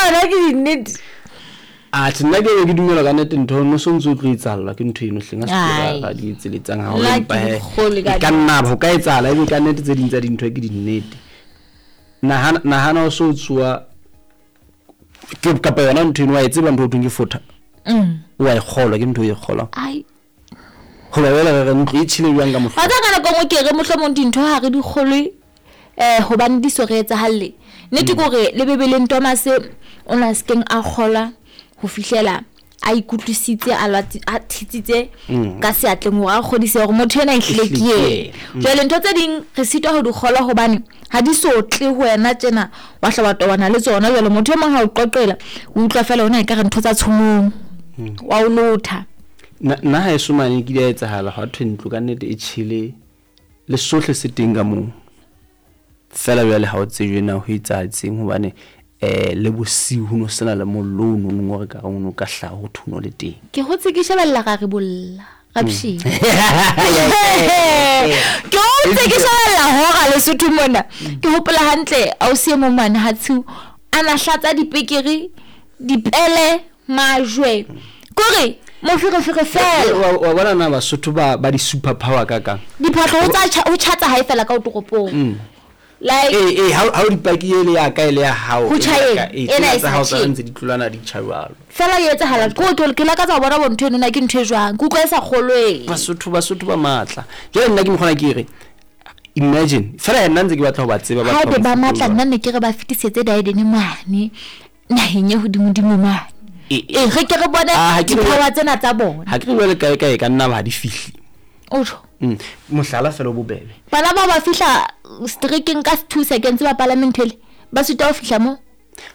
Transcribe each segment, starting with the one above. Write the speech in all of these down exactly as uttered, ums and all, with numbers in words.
Tsona ke dinnete. Atjhe, nna ke ke dumela ka nnete ntho no so ntso tlo etsahalla ke ntho eno hleng a se ra di etseletsang ha o empa he ka nna ho ka etsahala ebe ka nnete tse ding tsa dintho ke dinnete. Nahana nahana o so tsoa ke kapa yona ntho eno wa e tseba ntho o thweng ke fotha. Mm. Wa e kgolwa ke ntho e kgolwa. Ai. Ho ba bela re ntlo e tjhile jwang ka mohlo. Wa tseba ka nako nngwe ke re mohlomong dintho ha re di kgolwe eh hobane di so re etsahalle. Nnete ke hore le Bibeleng Thomas o na sekeng a kgolwa ho fihlela a ikutlwisitse a lwatsi a thitsitse ka seatleng hore a kgodise hore motho ena ehlile ke yena. Jwale ntho tse ding re sitwa ho di kgolwa hobane ha di so tle ho wena tjena wa hla wa tobana le tsona. Jwale motho e mong ha o qoqela o utlwa fela ona ekare ntho tsa tshomong wa o lotha. Nna ha eso mane ke di etsahala ha thwe ntlo ka nnete e tjhele le sohle se teng ka moo. Fela jwale ha o tsejwe na ho etsahatseng hobane eh le bosiu ho no sena le mollo o nong o re ka re o ka hlaha ho thuno le teng. Ke hotse ke shebella ra re bolla rapshi. Ke hotse ke shebella hora Lesotho mona. Ke hopola hantle ausi e mong mane ha tshiu a na hlatsa dipekere dipele majwe. Kore moferefere fela. Wa bona na Basotho ba ba di super power ka kang. Diphahlo ho tsa ho tjhatsa hae fela ka o toropong. Like eh eh ha o dipaki ele ya ka ele ya hao ena e tsa hao tsa ntse di tlolana di tjha fela e etsahala ko ke ke lakatsa ho bona bontho eno na ke ntho e jwang ke utlwa e sa kgolwe. Basotho Basotho ba matla. Jwale nna ke mokgona ke re imagine fela nna ntse ke batla ho ba tseba ba haebe ba matla nna ne ke re ba fetisetse Daedene mane naheng e hodimodimo mane. E re ke re bone dipower tsena tsa bona. Ha ke re jwale kae kae ka nna ba di fihli. O tjho. Mm. Mohlala fela bobebe. Bana ba ba fihla streaking ka two seconds ba palame ntho ele. Ba sita ho fihla mo.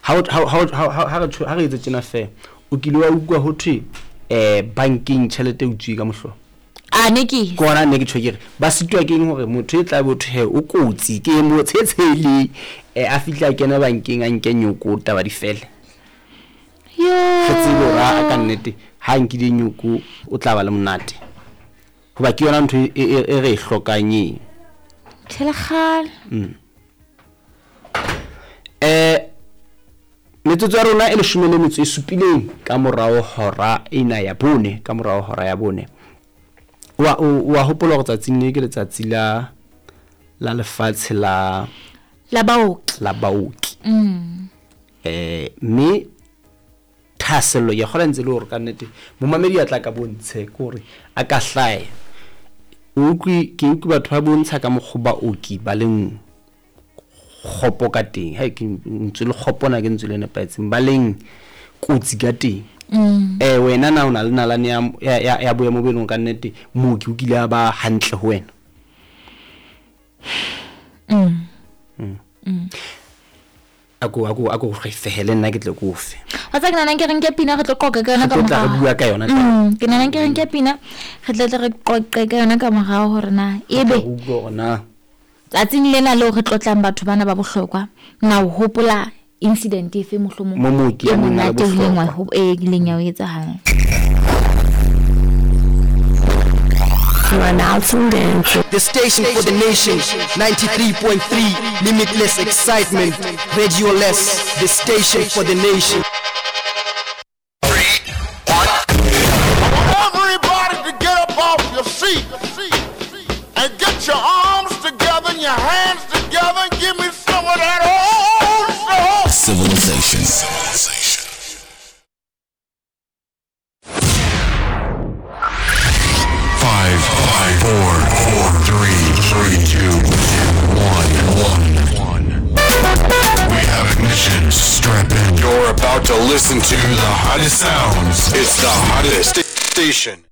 Ha ha ha ha re ha re etse tjena fe. O kile wa utlwa ho thwe eh bankeng tjhelete e utswe ka mohlo. A ne ke. Kona ne ke tjho ke re ba sitwa ke eng hore motho e tla botho he o kotsi ke mo tshetshele eh a fihla kena bankeng a nke nyoko taba di fele. Yo. Re tsebe hore a ka nnete ha nkile nyoko o tla ba le monate. Hoba ke yona ntho e re e hlokang eng. Tshela Mm. Eh metsotso ya rona e leshome le metso e supileng ka morao hora ena ya bone ka morao hora ya bone. Wa wa hopola hore tsatsing le ke letsatsi la la lefatshe la la baoki la baoki. Mm. Eh mme thahasello ya kgola ntse le hore ka nnete momamedi a tla ka bontshe ke hore a ka hlae. O utlwe ke utlwe batho ba bontsha ka mokgwa baoki ba leng kgopo ka teng. Ha ke ntse le kgopo na ke ntse le nepahetseng ba leng kotsi ka teng. Mm. Eh wena na o na le nalane ya ya ya boemo bo eleng ka nnete mooki o kile a ba hantle ho wena. Mm. Mm. Mm. Ako ako ako re fehele nna ke tle ko fe. Wa tsaka nna ke re nke pina re tlo qoqa ka yona ka morao. Re tla re bua ka yona. Mm, ke nna ke re nke pina re tle re qoqe ka yona ka morao hore na ebe na tsatsing lena leo re tlotlang batho bana ba bohlokwa na o hopola incident efe mohlomong mooki ya neng a le bohlokwa e kileng ya o etsahala. You are now tuned in to the station for the nation, ninety-three point three, limitless excitement, Radio Less, the station for the nation. Everybody to get up off your seat and get your arms together and your hands together and give me some of that old soul. Civilization. Civilization. Five, five, four, four, three, three, two, one, one, one. We have ignition. Strap in. You're about to listen to the hottest sounds. It's the hottest station.